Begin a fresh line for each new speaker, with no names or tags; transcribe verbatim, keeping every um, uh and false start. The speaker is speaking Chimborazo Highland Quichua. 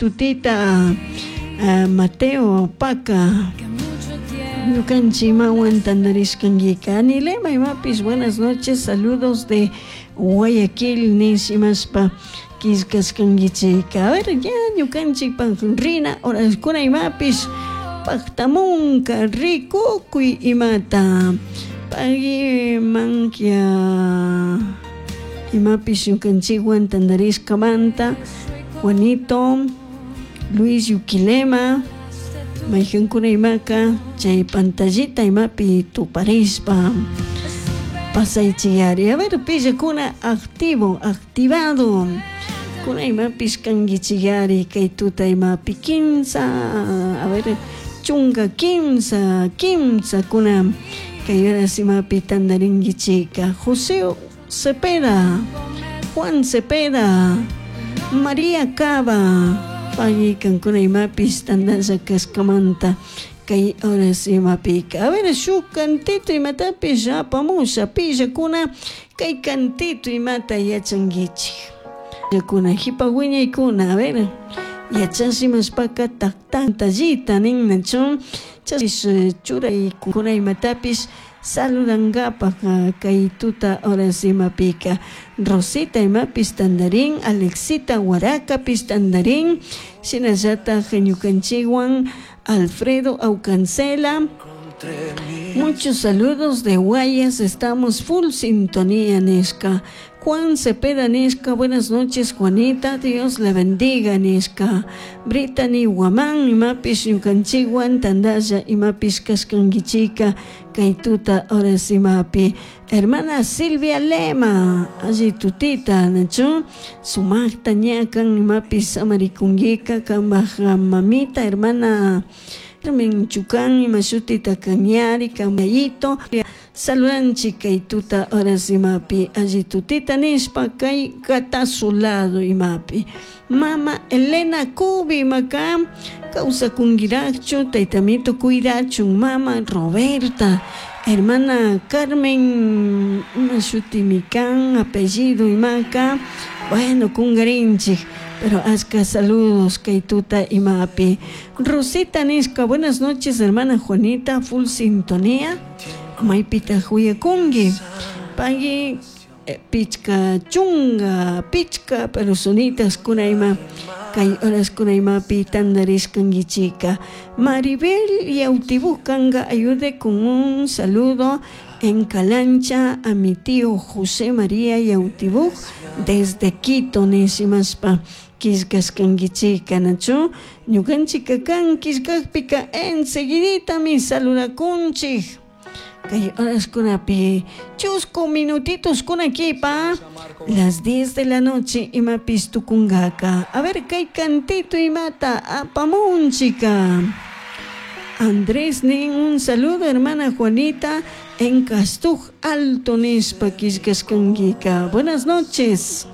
tutita uh, Mateo Paca ñukanchik imawan tantarishkankika Anilema imapish buenas noches, saludos de Guayaquil nish imashpa killkashkankichika. A ver, ya ñukanchikpak rina horaskuna imapish paktamunka rikukuy imata pagui mankia imapish ñukanchikwan tantarishkamanta Juanito Luis Yuquilema maykankuna imaka chay pantallita imapi tuparishpa pasaychiyari. A ver, pillakuna activo, activado kuna imapish kankichiyari kay tuta imapi kimsa, a ver, chunka kimsa, kimsa kuna kay horas imapi tantarinkichika José Cepeda, Juan Cepeda, María Cava pagui kankuna imapish tantasha kashkamanta kay horas imapika. A ver, shuk cantito imatapish apamusha pillakuna kay cantito imata yachankichik kuna hipa wiñaykuna, a ver, yachashimashpaka taktantallita nin nachu chash churaykuna imatapish saludankapak kay tuta horas imapika Rosita imapish tantarin, Alexita Huaracapish tantarin, shinallatak ñukanchikwan Alfredo Aucancela. Muchos saludos de Guayas, estamos full sintonía, nishka. Juan Cepeda nishka, buenas noches, Juanita, Dios le bendiga, nishka. Brittany Guamán, imapish ñukanchikwan tandalla, imapish kashkankichika, kay tuta horas imapi. Hermana Silvia Lema, alli tutita, nachu, sumakta ñakan, imapish samarikunkika, kambaj mamita, hermana Carmen Chucán, imashutita kañari, kamayito, saludanchik kay tuta horas imapi, alli tutita nishpa kay lado imapi. Mama Elena Cubi imaka, kawsakunkiraqchu, taytamito cuidachun, mama Roberta, hermana Carmen, imashutimi kan, apellido imaka, bueno, kungarinchik. Pero ashka saludos kay tuta imapi. Rosita nishka, buenas noches, hermana Juanita, full sintonía. Maypita huyakunki. Pagui eh, pichka chunga, pichka personitas kuna ima kay horas kuna imapi tantarishkankichika. Maribel Yautibukanga ayude con un saludo en Calancha a mi tío José María Yautibuk desde Quito nishimashpa killkashkankichika nachu ñukanchika kan killkakpika enseguiditami saludakunchik kay horaskunapi chusku minutitos kunakipa las diez de la noche imapish tukunkaka. A ver kay cantito imata apamunchika. Andrés nin un saludo hermana Juanita en Castuj Alto nishpa killkashkankika. Buenas noches.